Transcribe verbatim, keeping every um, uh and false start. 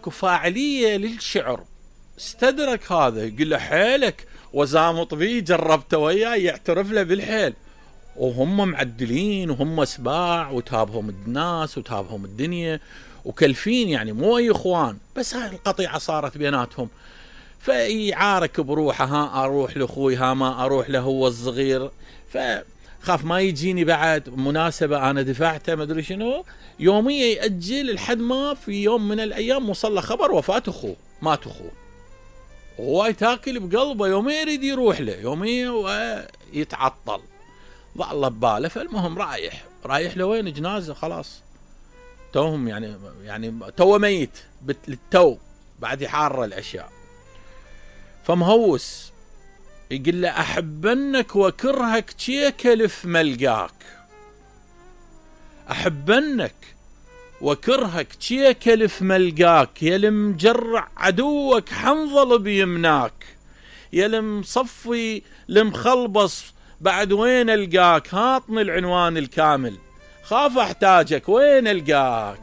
اكو فاعلية للشعر. استدرك هذا يقول له حيلك وزامط بيه، جربته وياه يعترف له بالحيل، وهم معدلين وهم سباع وتابهم الناس وتابهم الدنيا وكلفين، يعني مو اي اخوان، بس هاي القطيعة صارت بيناتهم. فيعارك بروحه، ها اروح لاخوي، ها ما اروح له هو الصغير، فخاف ما يجيني بعد مناسبة انا دفعته ما ادري شنو، يومية يأجل لحد ما في يوم من الايام وصل له خبر وفاة اخوه، مات اخوه، وهو تاكل بقلبه، يومية يريد يروح له، يومية ويتعطل، ضل بباله. فالمهم رايح رايح لوين؟ جنازة خلاص، توهم يعني يعني تو ميت بالتو، بعد يحار الاشياء. فمهوس يقول له احبنك وكرهك تشيك الف ملقاك، احبنك وكرهك تشيك الف ملقاك، يا المجرع عدوك حنظل بيمناك، يا المصفي المخلبص بعد وين القاك، هاطني العنوان الكامل خاف احتاجك وين القاك.